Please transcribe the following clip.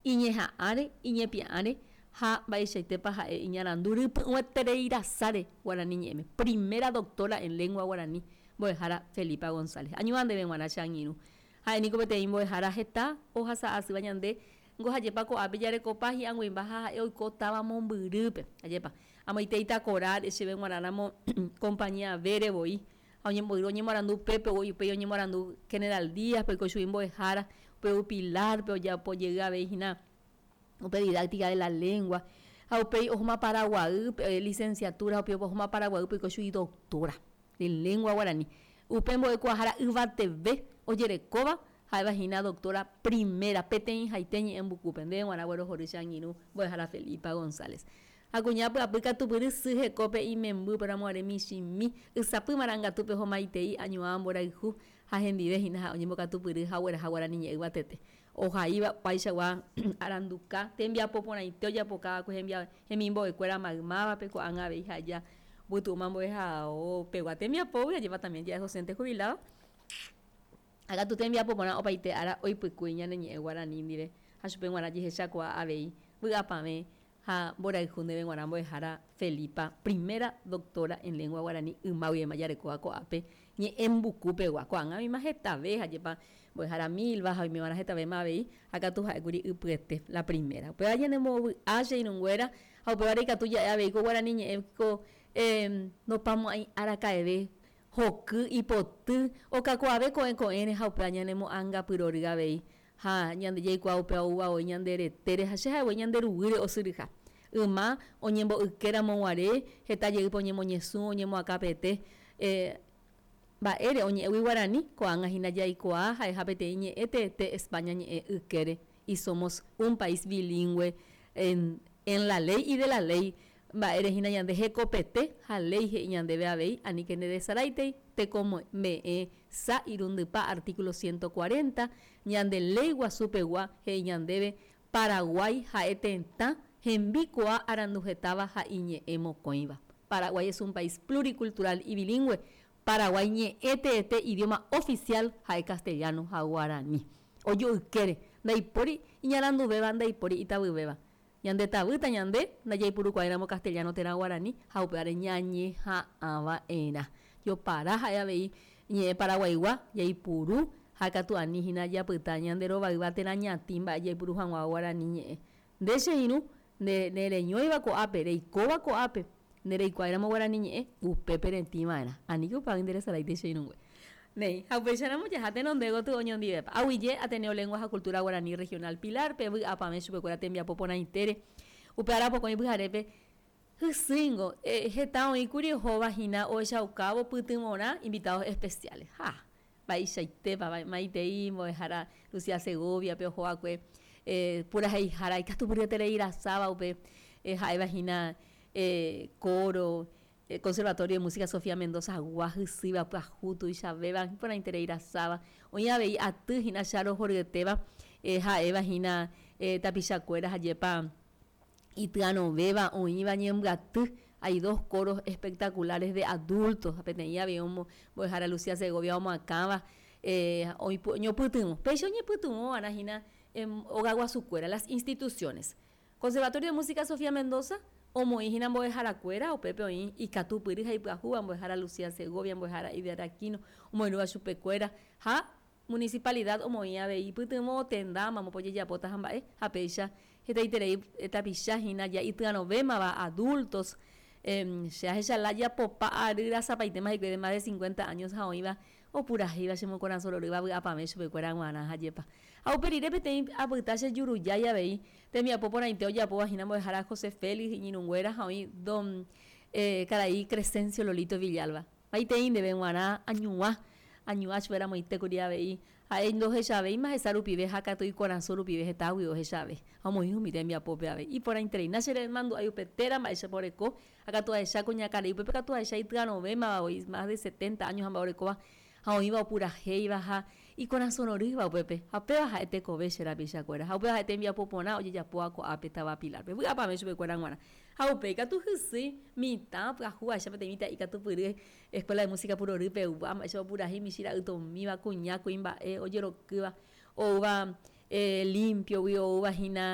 Iñeha'ãre, iñepia'ãre ha mba'eichaitépa ha'e iñarandu rypy'ũeterei rasáre guarani ñe'ẽme. Primera doctora en lengua guarani, mbo'ehára Felipa González. Añuã ndéve g̃uarã che angirũ. Ha'e niko peteĩ mbo'ehára heta ohasa'asýva ñande ngo hajépa ko'ápe jarekopa hi'ag̃uimba ha ha'e oiko táva mombyrýpe. Ajépa. Amoite Itakorá chéve g̃uarã ramo compañía B-re voi. Ha oñemboyru oñemoarandu upépe, upéi oñemoarandu General Díaz-pe oiko chugui mbo'ehára, upe ou Pilar-pe ojapo jey avei hína upe Didáctica de la Lengua, ha upéi ohóma Paraguaýpe, licenciatura, ha upéi ohóma Paraguaýpe oiko chugui doctora de Lengua Guarani. Upe mbo'ekuaahára yvateve ojerekóva ha'éva hína doctora primera, peteĩhaite ñe'ẽmbukúpe. Ndéve g̃uarã guerohory che angirũ mbo'ehára Felipa González. Ha kuña pyapy katupyry sy hekópe imemby upéramoguare michĩmi, ysapy marangatúpe ohomaitei añuã mborayhu ha hendive hína ha'e oñembokatupyry ha ogueraha guarani ñe'ẽ yvatete. Ohaíva opaichagua aranduka tembiapo porãite ojapokava'ekue hemimbo'ekuéra maymávape ko'ág̃a avei ha'eja opytu'úma mbo'ehao pegua tembiapógui ajépa también ja'e docente jubilado. Ha katu tembiapo porã opaite ára oipykúi ñane ñe'ẽ guarani ndive ha chupe g̃uarã jehechakuaa avei vy'apavẽ Ha mborayhu ndéve g̃uarã mbo'ehára Felipa, primera doctora en lengua guarani yma guivéma jarekóva ko'ápe ñe'ẽ mbuku pegua. Ko'ág̃a oĩma hetave ha jepa mbo'ehára Milva ha oime va'erã hetavéma avei, ha katu ha'ékuri ypyete la primera. Upéva ñanembovy'a che irũnguéra ha upévare ikatu ja'e avei ko guarani ñe'ẽ ko ndopamo'ãi araka'eve hoky, ipoty, okakuaave ko'ẽ ko'ẽre ha upéva ñanemo'ãngapyrory avei. Ha ñande jaikuaa upéva oúva voi ñande retére ha che ha'e voi ñande ruguýre osyryha. Yma oñembo'yke ramo guare heta jeýpe oñemoñesũ, oñemoakãpete. Mba'ére oñe'ẽgui guarani, ko'ág̃a hína jaikuaa ha'eha peteĩ ñe'ẽ teete España ñe'ẽ ykére y somos un país bilingüe en en la ley y de la ley Mba'ére hína ñande hekopete ha léi he'i ñandéve avei aníke nderesaráitei tekome'ẽ sa irundypa artículo 140 ñande léi guasu pegua he'i ñandéve Paraguái ha'e tetã hembikuaa aranduhetáva ha iñe'ẽ mokõiva. Paraguay es un país pluricultural y bilingüe. Paraguái ñe'ẽ teete idioma oficial ha'e castellano ha guarani. Ojoykére, ndaipóri iñaranduvéva ndaipóri itavyvéva. Ñande tavýta ñande ndajaipurukuaáiramo castellano térã guarani ha upévare ñañeha'ãva'erã. Jopara ha'e avei ñe'ẽ paraguaigua jaipuru ha katu ani hína japyta ñande rovayva térã ñatĩ mba'e jaipuru hag̃ua guarani ñe'ẽ. Nde che irũ, nde nereñóiva ko'ápe, reikóva ko'ápe, ndereikuaáiramo guarani ñe'ẽ, upépe retĩva'erã. Aníke upévagui nderesaráite che irũngue. Néi, ha upéicharamo jaha tenonde gotyo oñondivepa. Aguyje Ateneo Lengua ha Cultura Guaraní Regional Pilar-pe, vy'apavẽ chupekuéra tembiapo porãitére. Upe ára pokõi pyharépe hysýingo, heta oĩkuri ohóva hína ohechaukávo pytyvõrã invitados especiales. Ha, mba'eichaitépa, maitei mbo'ehára Lucía Segovia-pe oho'akue puraheihára ikatupyryeterei rasáva upe ha'éva hína coro, Conservatorio de Música Sofía Mendoza gua hysýiva pyahu tuichavéva iporãiterei rasáva. Oĩ avei aty hína Charo horyetéva ha'éva hína tapichakuéra ha jepa ityarõvéva oĩva ñembyaty. Hay dos coros espectaculares de adultos ha peteĩ avei mbo'ehára Lucía Segovia omoakãva oñopytyvõ. Péicha oñepytyvõva'erã hína ogaguasukuéra, las instituciones. Conservatorio de Música Sofía Mendoza omoĩ hína mbo'eharakuéra, upépe oĩ ikatupyry ha ipyahúva mbo'ehára Lucía Segovia, mbo'ehára Ider Aquino omoirũva chupekuéra ha Municipalidad omoĩ avei ipytyvõ tenda mamópa ojejapóta ha mba'e ha péicha hetaiterei tapicha hína ja ityarõvémava adultos che ahecha laya popa ary rasapaitéma hikuái de más de 50 años ha oĩva Opurahéiva che mokorasõ rorýva vy'apavẽ chupekuéra g̃uarã ha jepa. Ha upe rire peteĩ apyta che jurujái avei, tembiapo porãite ojapóva hína mbo'ehára José Félix iñirũnguéra ha oĩ don karai Crescencio Lolito Villalba. Maitei ndéve g̃uarã añuã, añuã chupe ramoite kuri avei, ha'e ndohechavéima hesa rupive ha katu ikorasõ rupive hetágui ohechave ha omoĩ umi tembiapópe avei. Iporãitereína che remandu'ái upe téra mba'éichapa oreko Ha katu ahecha kuñakarai, upépe katu ahecha ityarõvémava voi, más de setenta años ha mba'e orekóva, ha oĩva opurahéiva ha ikorasõ rorýva upépe. Ha upéva ha'e tekove che rapichakuéra, ha upéva ha'e tembiapo porã ojejapóva ko'ápe táva Pilar-pe. Vy'apavẽ chupekuéra g̃uarã. Ha upéi katu hysýi mitã pyahu ahecha peteĩ mitã'i katupyry Escuela de Música Purory pegua, mba'éichapa opurahéi michĩ ra'ytomíva, kuña, kuimba'e, ojerokýva, oúva limpio-gui, oúva hína.